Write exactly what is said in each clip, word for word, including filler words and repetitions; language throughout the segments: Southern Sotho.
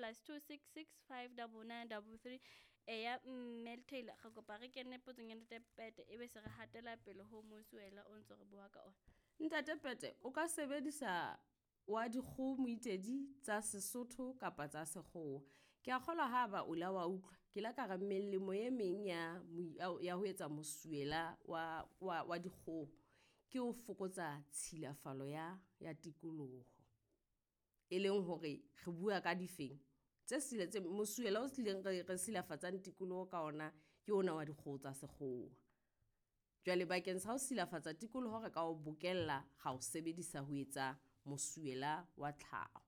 plus two six six five double nine double three. Eya mme Taylor, re kopa re kene potsong ya Ntate Pete, ebe se re hatela pele ho mosuwela o ntso re bua ka ona. Ntate Pete, o ka sebedisa wa dikgoho moitedi tsa Sesotho kapa tsa Sekgowa. Ke a kgolwa ha ba o la wa utlwa, ke la ka re melemo e meng ya ya ho etsa mosuwela wa wa wa dikgoho ke ho fokotsa tshilafalo ya ya tikoloho. E leng hore re bua ka difeng tse sile tse mosuwela o hlileng re re silafatsang tikoloho ka ona ke ona wa dikgoho tsa Sekgowa. Jwale bakeng sa ho silafatsa tikoloho re ka o bokella ra o sebedisa ho etsa mosuwela wa tlhaho.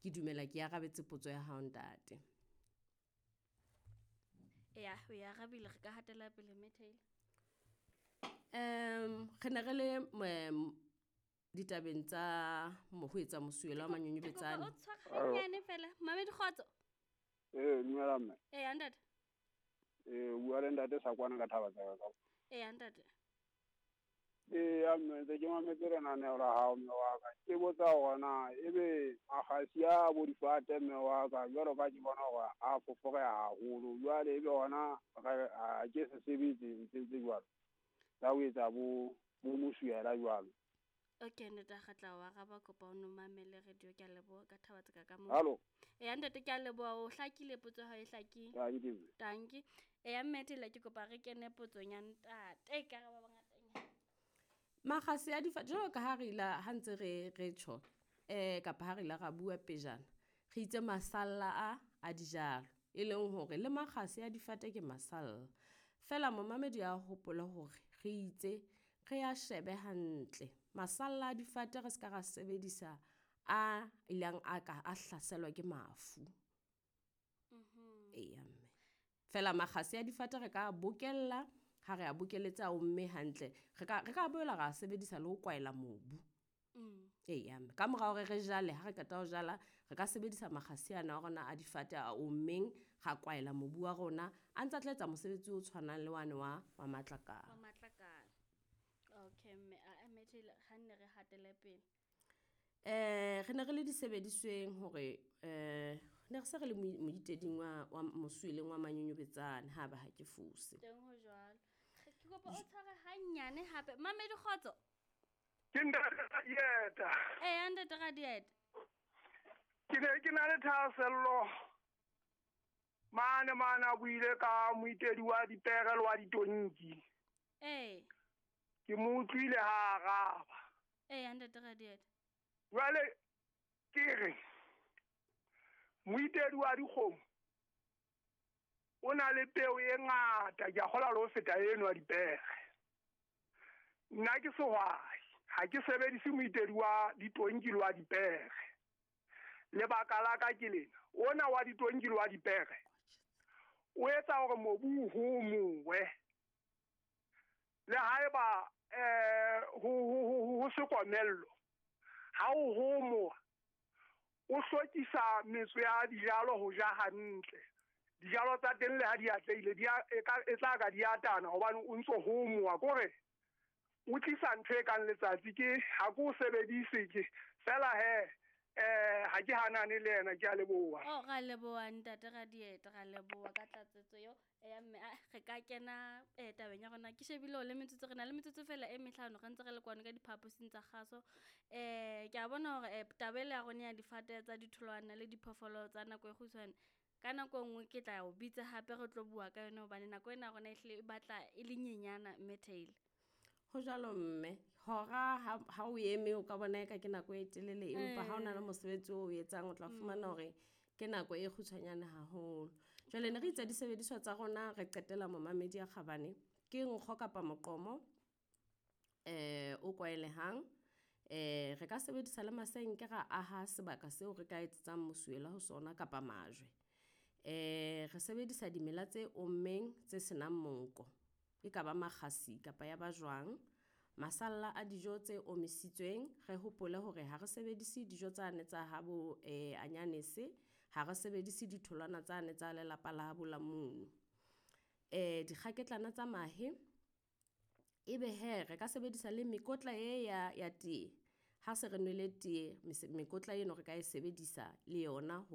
Ke dumela ke arabetse potso ya hao ntate. Eya, o e arabile, re ka hatela pele mme Taylor. Um re ne re le ditabeng tsa ho etsa mosuwela wa manyonyobetsane. O tshware hanyane fela. Mamedi kgotso. Eh, dumela mme. Eya ntate. Eh, o bua le ntate Sakwana ka thaba tsa ka. Eya ntate. Eya mme, ntse ke mametse lenaneo la hao mme wa ka. Ke botsa hore na ebe makgasi a bo difate mme wa ka, jwalo ka ke bona hore a foforeha haholo. Jwale ebe hona a ke se sebetse ntse tse jwalo. Tsa ho etsa bo bo mosuwela jwalo. Okay, ntate, re tla o araba, kopa o no mamele radio. Ke a leboha ka thaba tsa ka mo. Hallo. Eya ntate, ke a leboha, o hlakile potso ya hao e hlakile. Tanki. Tanki. Eya mme Taylor, ke kopa re kene potsong ya ntate, ka re ba bangatanyana. Makgasi a difate, jwalo ka ha re ila ha ntse re re tjho eh kapa ha re ila ra bua pejana, re itse masalla a a dijalo, e leng hore le makgasi a difate ke masalla. Fela momamedi a hopola hore re itse re a shebe hantle masalla a difate, re ska ra sebedisa a ilang a ka a hlaselwa ke mafu. Mhm. Eya mme. Fela makgasi a difate re ka bokella, ha re a bokeletse a omme hantle, re ka re ka boela ra sebedisa le ho kwaela mobu. Mm. Eya mme. Ka mora hore re jale, ha re qeta ho jala, re ka sebedisa makgasi ana a rona a difate a ommeng, ra kwaela mobu wa rona, a ntse a tla etsa mosebetsi o tshwanang le wane wa wa matlakala. Wa matlakala. Okay mme, a mme Taylor, ha nne re hatele pele. Eh re ne re le disebedisweng hore eh ne re se re le moiteding wa wa mosuweleng wa manyonyobetsane ha ba ha ke fose. Teng ho jwalo. Ke kopa o tshware hanyane hape. Mamedi kgotso. Ke ntate Radieta. Eya ntate Radieta. Ke ne ke na le thahasello mane mane a buile ka moitedi wa dipere le wa ditonki. Eh. Ke mo utlwile ha araba. Eya ntate Radieta. Jwale ke re moitedi wa dikgomo o na le peo e ngata, ke a kgolwa le ho feta eno ya dipere. Nna ke sehwai, ha ke sebedise moitedi wa ditonki le wa dipere. Lebaka la ka ke lena, ona wa ditonki le wa dipere o etsa hore mobu o homowe. Le haeba eh ho ho ho se komello, ha o homowa o hlokisa metso ya dijalo ho ja hantle. Dijalo tsa teng le ha di atlehile di a e tla ka di atana hobane o ntso homowa, kore o tlisa ntho e kang letsatsi. Ke ha ke o sebedise ke fela he eh ha ke hanane le yena, ke a leboha. Oh, ra leboha ntate Radieta, ra leboha ka tlatsetso eo. Eya mme, re ka kena eh tabeng ya rona. Ke shebile le metsotso, re na le metsotso fela e mehlano, re ntse re le kwano ka diphaposing tsa kgaso. Eh ke a bona hore taba ela ya rona ya difate tsa ditholwana le diphoofolo tsa nako e kgutshwane, ka nako e nngwe ke tla o bitsa hape re tlo bua ka yona, hobane nako ena ya rona ehlile e batla e le nyenyana mme Taylor. Ho jwalo mme, hora ha ha o eme o ka bona eka ke nako e telele, empa ha o na le mosebetsi o etsang o tla fumana hore ke nako e kgutshwanyane haholo. Jwale ne re itse disebediswa tsa rona, re qetela momamedi ya kgabane ke nkgo kapa moqomo eh o kwaelehang. Eh re ka sebedisa le masenke ra aha sebaka seo re ka etsetsang mosuwela ho sona kapa majwe. Eh re sebedisa dimela tse ommeng tse senang monko, e ka ba makgasi kapa ya ba jwang, masalla a dijo tse omisitsweng. Re hopole hore ha re sebedise dijo tsane tsa habo eh anyanese, ha re sebedise ditholwana tsane tsa lelapa la habo la mono. Eh dikgaketlana tsa mahe, ebe he re ka sebedisa le mekotla e ya ya tee. Ha se re nwele tee, mekotla eno re ka e sebedisa le yona ho